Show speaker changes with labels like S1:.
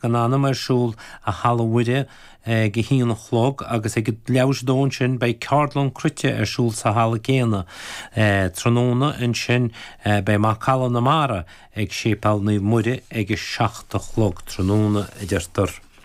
S1: Gan Anam ar siúl i Halla Mhuire ag a haon a chlog agus ag leathuair tar éis a dó ansin beidh ceardlann cruite ar siúl sa halla céanna. Tráthnóna ansin beidh Macalla na Mara ag Séipéal Naomh Muire ag a 7 a chlog tráthnóna, a deirtear.